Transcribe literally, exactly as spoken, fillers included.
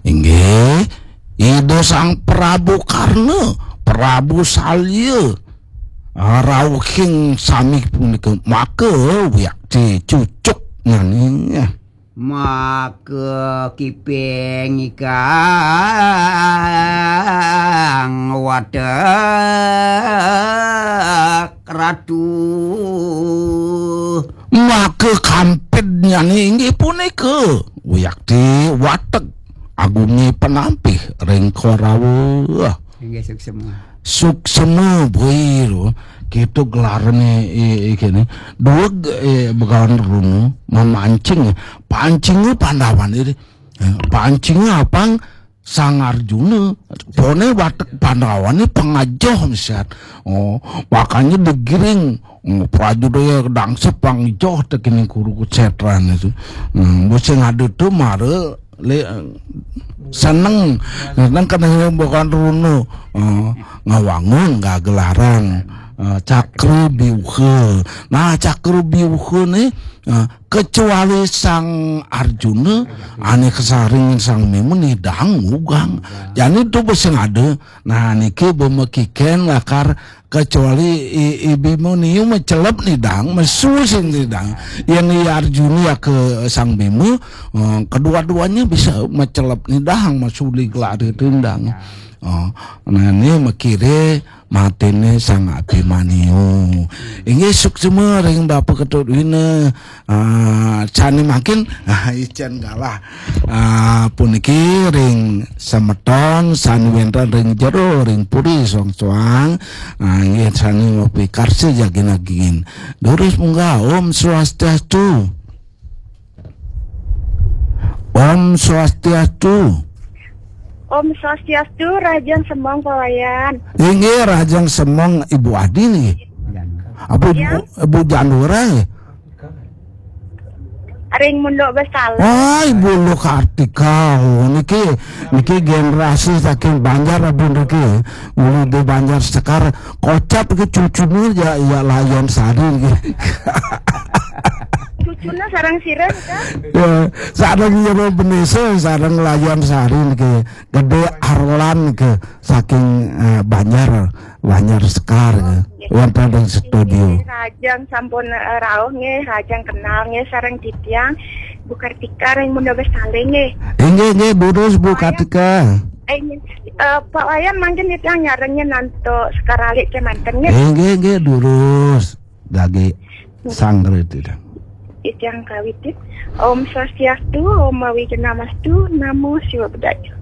Inggih, Ida Sang Prabu Karna, Prabu Salya, ah, rauhing sami punika, maka wiakti cucuk nyaning. Maka kiping ikang watek ratu. Maka kampidnyane inggih punika wiakti watek agumi penampih ring Korawa. Inggih, suksema. Suksema boi ro, kita gelarane i-, i-, kene. Dueg, eh, Begawan Runu memancing. Pancinge Pandawane, eh, pancinge apang Sang Arjuna, pone watek Pandawane pangajoh misan. Oh, makanya digiring. Oh, prajurit dangsep pangajoh tekening Kurukshetra itu. Hmm, bos sing ada tu mara le, seneng, seneng kadang bukan runu. Oh, ngawangun gagelaran. Eh, Cakra Biuha. Nah, Cakra Biuha ni, eh, kecuali Sang Arjuna, ane kasaring Sang Bima nidang ngugang. Jani tu bes sing ada. Nah, niki bemekiken lakar kecuali i, i Bima niu macelep nidang, mesu sing nidang. Yang i Arjuna ya ke Sang Bima, eh, kedua-duanya bisa macelep nidang, masuli gelari nidang. Oh, nah, ni makire matene Sang Abimanyu. Inggih suksema ring Bapak Ketut Wina. Ah, sane mangkin, ah, icen galah. Ah, puniki ring semeton sane wenten ring jero ring puri soang-soang. Ah, inggih sane mapikarsa jagin agingin. Durus munggah, Om Swastiastu. Om Swastiastu. Om Swastiastu, Rahajeng Semeng Pak Wayan. Inggih, Rahajeng Semeng Ibu Adi niki. Apa Ibu, Ya. Ibu Janura nggih? Ring Munduk Besala. Oh, Ibu Luh Kartika. Oh, niki, niki generasi saking Banjar, Ibu, niki. Uli di Banjar Sekar, kocap ke cucune ya, ya Layon Sari niki. Cucune sareng sira, kan? Ya, sareng ya Benesa, sareng Layon Sari niki. Gede Arlan niki saking, eh, Banjar, Banjar Sekar niki. Wonten ring studio. Rahajeng sampun, eh, rauh nggih, rahajeng kenal nggih sareng titiang Bu Kartika ring Munduk Besala nggih. Inggih, inggih, durus Bu Kartika. Eh, nggih. Eh, Pak Wayan mangkin titiang nyarengin antuk Sekar Alit kemanten nggih. Inggih, inggih, durus. Dagi sangre titiang. Titiang kawitin. Om Swastiastu, Om Awighnamastu, Namo Siwa Buddhaya.